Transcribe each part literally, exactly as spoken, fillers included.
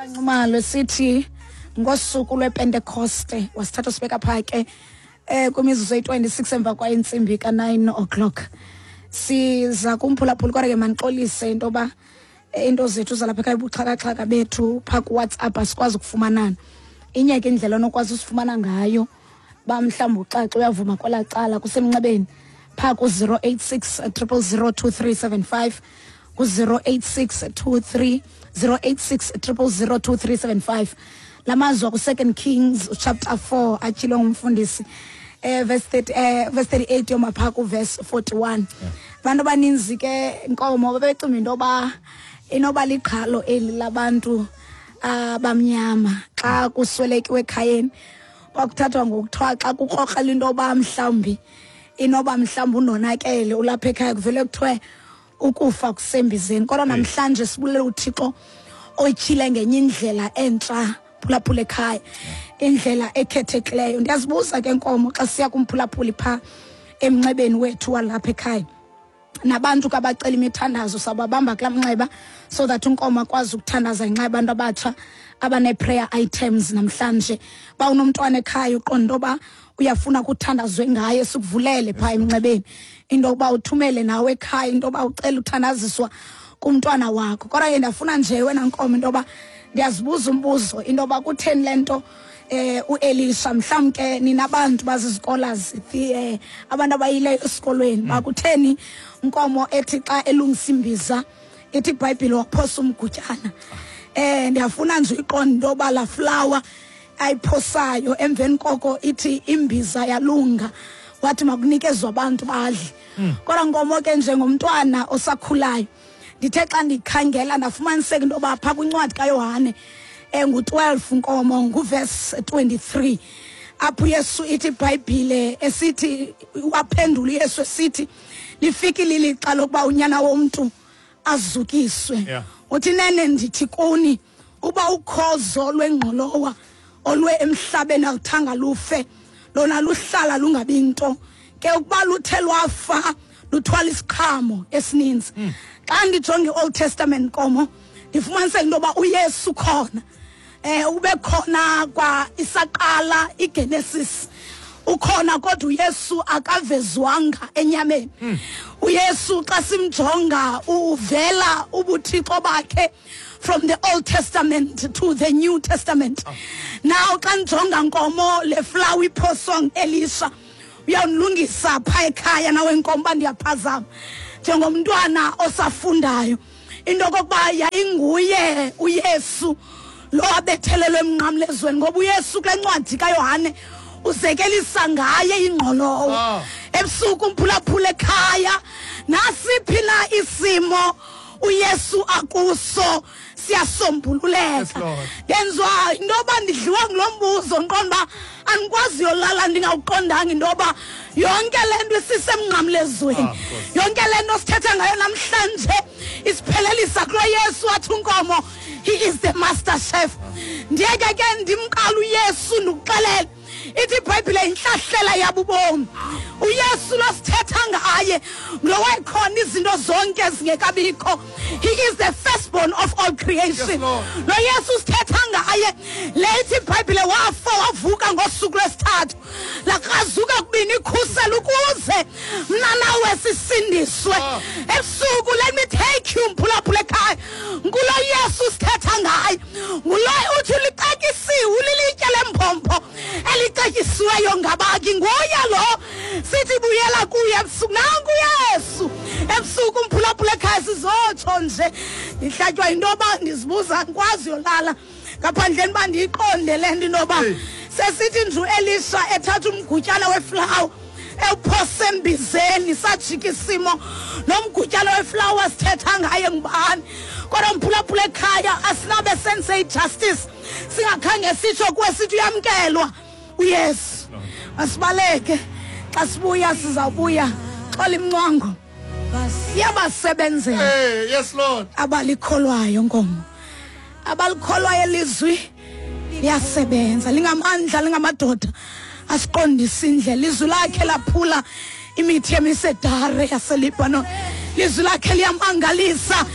Nxumalo sithi ngosuku lwePentecoste wasithatha sibeka pha ke eh kwimizuzu eyi-twenty-six emva kwa intsimbi ka nine o'clock. Siza kumphulaphula, kodwa ke manixolise into yoba into zethu zalapha ekhaya, ubuxhakaxhaka bethu phaa kuWhatsApp asikwazi ukufumanana. Inye ke indlela onokwazi usifumana ngayo, ba mhlawumbi uxaxa uyavuma kwelaa cala kusemnxebeni phaa ku-zero eight six triple zero two three seven five, ku-zero eight six two three zero eight six triple zero two three seven five. La mazwi aku-Second Kings chapter four atyhilwe ngumfundisi, eh, verse thirty, eh, verse thirty-eight yoma phaa ku-verse forty-one. Abantu abaninzi ke Nkomo babecinga into yoba inoba liqhalo eli labantu abamnyama xa kuswelekiwe ekhayeni, kwakuthathwa ngokuthiwa xa kukrokrela into yoba mhlawumbi inoba mhlawumbi unonakele ulapha ekhaya, kuvele kuthiwe ukufa kusembizeni. Kodwa namhlanje sibulela uThixo otyhile ngenye indlela entsha, phulaphula ekhaya, indlela ekhethekileyo. Ndiyazibuza ke Nkomo, xa siya kumphulaphuli phaa emnxebeni wethu walapha ekhaya, nabantu kabacela imithandazo sababamba kulaa mnxeba so that uNkomo akwazi ukuthandaza ngenxa yabantu abatsha abane-prayer items namhlanje. Ba unomntwana ekhaya uqonda into yoba uyafuna kuthandazwe ngaye, sikuvulele phaa emnxebeni into yokuba uthumele nawe ekhaya into yoba ucela uthandaziswa kumntwana wakho. Kodwa ke ndiyafuna nje wena Nkomo into yoba ndiyazibuza umbuzo into yoba kutheni le nto eh uElisha, mhlawumbi ke nina bantu bazizikolaz, eh abantu abayileyo esikolweni, bakutheni Nkomo ethi xa elungisa imbiza ithi iBhayibhile waphosa umgutyana? Eh ndiyafuna nje uyiqonda into yoba la flower ayiphosayo emveni koko ithi imbiza yalunga, wathi makunikezwe abantu badle. Kodwa Nkomo ke njengomntwana osakhulayo ndithe xa ndikhangela ndafumaniseka into yoba phaa kwincwadi kaYohane engu-twelve Nkomo nguverse twenty-three apho uYesu ithi iBhayibhile esithi waphendula uYesu esithi lifikile ilixa lokuba unyana womntu azukiswe. Yeah. Uthi nene ndithi kuni uba ukhozo lwengqolowa olwe emhlabeni aluthanga lufe, lona luhlala lungabi nto, ke ukuba luthe lwafa luthwala isiqhamo esininzi. Xa ndijonga i-Old Testament Nkomo ndifumaniseka into yoba uYesu khona, eh ube khona kwa isaqala iGenesis ukhona, kodwa uYesu akavezwanga enyameni. uYesu xa simjonga uvela ubuthixo bakhe from the Old Testament to the New Testament. Now xa ndijonga Nkomo le flower iphoswa nguElisha, uyawundilungisa phaa ekhaya nawe Nkomo uba ndiyaphazama njengomntwana osafundayo into okokuba yayinguye uYesu lo abethelelwe emnqamlezweni, ngoba uYesu kule ncwadi kaYohane uzekelisa ngaye ingqolowa. Ah. Ebusuku umphulaphula ekhaya, nasiphi na isimo uYesu akuso siyasombululeka. Yes, Lord. Ndenziwa into yoba ndidliwa ngulo mbuzo, ndiqonda uba andikwazi yolala ndingawuqondanga into yoba yonke le nto isisemnqamlezweni. Ah, of course. Yonke le nto sithetha ngayo namhlanje isiphelelisa kulo Yesu wathi uNkomo he is the master chef. Ndiyeke ke ndimqala uYesu ndikuxelele ithi iBhayibhile intlahlela yabubomi. uYesu lo sithetha ngaye ngulo wayekhona izinto zonke zingekabikho. He is the firstborn of all creation. Yes, Lord. Lo Yesu sithetha ngaye le ithi iBhayibhile wafa wavuka ngosuku lwesithathu, lakrazuka kubini ikhusela ukuze mna nawe sisindiswe. Ah. Ebusuku let me take you mphulaphula ekhaya, ngulo Yesu sithetha ngaye, ngulo uthi ulicetyisiwe, ulilitye lembombo elicetyisiweyo ngabaki, nguye lo sithi buyela kuye ebusuku. Nanku Yesu ebusuku umphulaphula ekhaya, sizotsho nje ndihlatywa yinto yoba ndizibuza andikwazi yolala ngaphandleni uba ndiyiqonde le nto intoba Hey. sesithi nje uElisha ethatha umgutyana weflawa ewuphose embizeni, sajika isimo nomgutyana weflawa sithetha ngaye ngubani. Kodwa mphulaphula ekhaya asinabe sense justice singakhange sitsho kuwe sithi uyamkelwa uYesu. Masibaleke, xa sibuya sizawubuya xola imncwango iyabasebenzela Hey, yes Lord. abalikholwayo Nkomo, abalikholwayo elizwi liyasebenza, lingamandla, lingamadoda asiqondisa indlela. Izwi lakhe laphula imithi yemisedare yaseLebanon, lizwi lakhe liyamangalisa,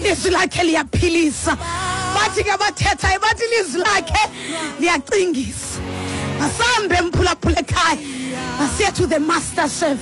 lizwi lakhe liyaphilisa. Bathi Bathi ke abathethayo, bathi ilizwi lakhe liyacingisa. Masambe, mphulaphula ekhaya, masiye to the master chef.